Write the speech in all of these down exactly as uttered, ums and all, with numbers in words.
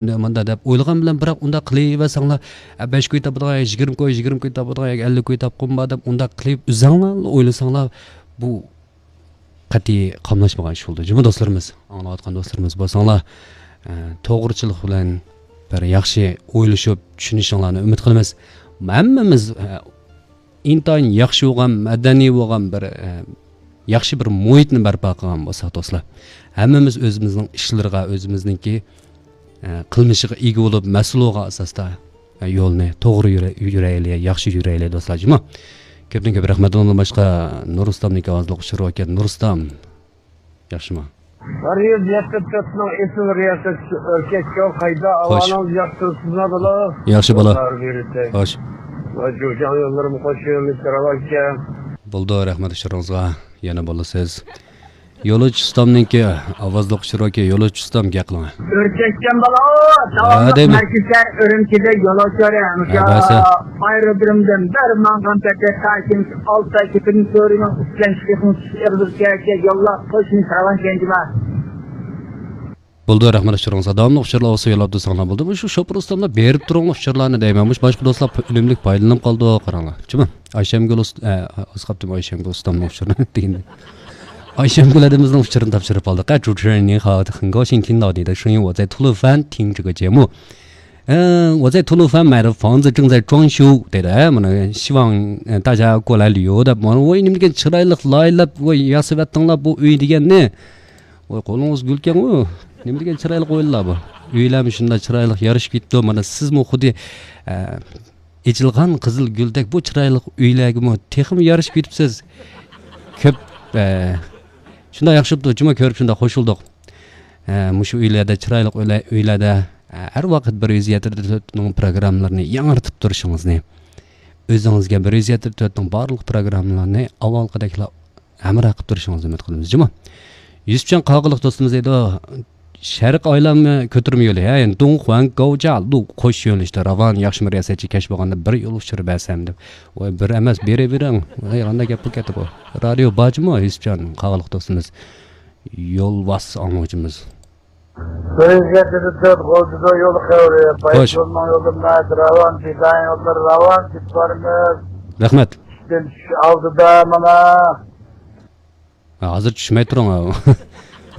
مۇنداق دەپ ئويلىغان بىلەن، بىراق ئۇنداق قىلىۋەرسەڭلار، ئە، بەش كوي تاپىدىغان ياكى يىگىرمە كوي، يىگىرمە كوي تاپىدىغان ياكى ئەللىك كوي تاپقۇم بار دەپ ئۇنداق قىلىپ ئۆزەڭلار ئويلىساڭلار، بۇ قەتئىي قاملاشمىغان ئىش بولدى. جۇمۇ دوستلىرىمىز، ئاڭلاۋاتقان دوستلىرىمىز بولساڭلار، ئە، توغرىچىلىق بىلەن بىر ياخشى ئويلىشىپ چۈشىنىشىڭلارنى ئۈمىد قىلىمىز. ھەممىمىز، ئە، ئىنتايىن ياخشى بولغان، مەدەنىي بولغان بىر، ئە، ياخشى بىر مۇھىتنى بەرپا قىلغان بولساق، دوستلار، ھەممىمىز ئۆزىمىزنىڭ ئىشلىرىغا، ئۆزىمىزنىڭكى، ئە، قىلمىشىغا ئىگە بولۇپ، مەسئۇل بولغان ئاساستا، ئە، يولنى توغرا يۈرە-، يۈرەيلى، ياخشى يۈرەيلى، دوستلار، جۇمۇ. كۆپتىن كۆپ رەھمەت. ئۇنىڭدىن باشقا نۇر ئۇستامنىڭكى ئاۋازلىق ئۇچۇرى باركەن. نۇر ئۇستام، ياخشىمۇ؟ غەرىب يەتتە تۆتنىڭ ئېسىل رىياسەتچىسى ئۆركەش شو قايدا؟ خوش. ئاۋانىڭىز ياخشى تۇرۇپسىزما بالا؟ ياخشى بالا. خوش. جۇجاڭ يوللىرىمۇ خوش يوللىشى راۋانكەن. بولدى، رەھمەت ئۇچۇرىڭىزغا. يەنە بولىسىز. يولۇچ ئۇستامنىڭكى ئاۋازلىق ئۇچۇرى باركەن. يولۇچ ئۇستام، گەپ قىلىڭ. ئۆركەشكەن بالا، ھە، داۋاملىق دەيمەن. مەركىزى ئۈرۈمچىدە يول ئاچار. ھە، بەسە. ئايرودرومدىن بىر ماڭغان پېتى تاكىن ئالتاي كېپىدىن تۆرىنىڭ ئۈستىدىن چىقىشنىڭ يوللاپ قويۇشنى ساغلام كەنجىما. بولدى، رەھمەت ئۇچۇرىڭىزغا. داۋاملىق ئۇچۇرلار بولسا يوللاپ تۇرساڭلار بولدى. مۇشۇ شوپۇر ئۇستاملار بېرىپ تۇرۇڭلار ئۇچۇرلارنى دەيمەن. مۇشۇ باشقا دوستلار ئۈنۈملۈك پايدىلىنىپ قالىدۇ، قاراڭلار. جۇمۇ. ئايشەمگۈل ئۇست-، ئە، ئاسقاپتىم ئايشەمگۈل ئۇستامنىڭ ئۇچۇرىنى دېگەندە. ئايشەمگۈل ھەدىمىزنىڭ ئۇچۇرىنى تاپشۇرۇپ قالدۇق. ئە، 主持人您好，很高兴听到你的声音，我在吐鲁番听这个节目。 ئە، 我在吐鲁番买的房子正在装修 دەيدۇ. ئە، مانا، 希望، ئە، 大家过来旅游 دەپ، مانا، ۋاي، نېمە دېگەن چىرايلىق لايىھەلەپ، ۋاي، ياسىۋەتتىڭلار بۇ ئۆي دېگەننى. ۋاي، قولىڭىز گۈلكەنغۇ. نېمە دېگەن چىرايلىق ئويلىنىلار بۇ. ئۆيلەرمۇ شۇنداق چىرايلىق يارىشىپ كېتىپتۇ. مانا، سىزمۇ خۇددى، ئە، ئېچىلغان قىزىل گۈلدەك بۇ چىرايلىق ئۆيلەرگىمۇ تېخىمۇ يارىشىپ كېتىپسىز. كۆپ، ئە، شۇنداق ياخشى بوپتۇ، جۇمۇ كۆرۈپ شۇنداق قوشۇلدۇق. ئە، مۇشۇ ئۆيلەردە، چىرايلىق ئۆيلە-، ئۆيلەردە، ئە، ھەر ۋاقىت بىر يۈز يەتتە تۆتنىڭ پروگراممىلىرىنى ياڭرىتىپ تۇرۇشىڭىزنى، ئۆزىڭىزگە بىر يۈز يەتتە تۆتنىڭ بارلىق پروگراممىلىرىنى ئاۋۋالقىدەكلا ھەمراھ قىلىپ تۇرۇشىڭىزنى ئۈمىد قىلىمىز، جۇمۇ. يۈسۈپجان قاغىلىق دوستىمىز دەيدۇ، شەرق ئايلانما كۆتۈرمە يولى، ھە، يەنى دۇڭخۇەن گاۋجالۇ قوش يۆنىلىشتە راۋان، ياخشىمۇ رىياسەتچى، كەچ بولغاندا بىر يول ئۇچۇرى بەرسەم دەپ. ۋاي، بىر ئەمەس، بېرىۋېرىڭ. ۋاي، قانداق گەپ بۇ كەتتى بۇ؟ رادىيو بارجۇمۇ، يۈسۈپجان قاغىلىق دوستىمىز؟ يولۋاس ئاڭلىغۇچىمىز. بىر يۈز يەتتە تۆت غۇلجىدا يول خەۋىرى. خوش. بايسۇننىڭ يولى مەت راۋان، پىدائىن يوللىرى راۋان، كېتىپ بارىمىز. رەھمەت. ئىشتىن چۈشۈش ئالدىدا مانا. ھە، ھازىر چۈشمەي تۇرۇڭ.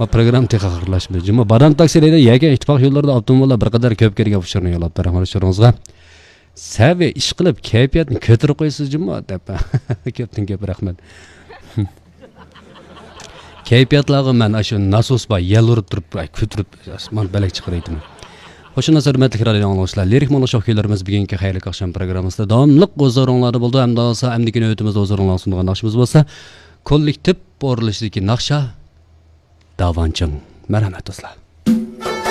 ما پروگرامما تېخى ئاخىرلاشمىدى. جۇمۇ بادام تاكسى دەيدۇ، يەكەن ئىتتىپاق يوللىرىدا ئاپتوموبىللار بىر قەدەر كۆپ كەلگەن ئۇچۇرنى يوللاپتۇ. رەھمەت ئۇچۇرىڭىزغا. سەۋى ئىش قىلىپ كەيپىياتنى كۆتۈرۈپ قويىسىز جۇمۇ دەپ. كۆپتىن كۆپ رەھمەت. كەيپىياتلارغا مەن ئاشۇ ناسوس بار، يەل ئۇرۇپ تۇرۇپ، ئاي، كۆتۈرۈپ ئاسمان بەلەك چىقىرىۋېتىمەن. خوش ئامراق ھۆرمەتلىك رادىيو ئاڭلىغۇچىلار، لىرىك مۇڭلۇق شوخ كۈيلىرىمىز بۈگۈنكى خەيرلىك ئاخشام پروگراممىسىدا داۋاملىق ھۇزۇرۇڭلاردا بولىدۇ. ئەمدى بولسا ئەمدىكى نۆۋىتىمىزدە ھۇزۇرۇڭلارغا سۇنىدىغان ناخشىمىز بولسا كوللېكتىپ ئورۇنلىشىدىكى ناخشا داۋانچىڭ. مەرھەمەت دوستلار.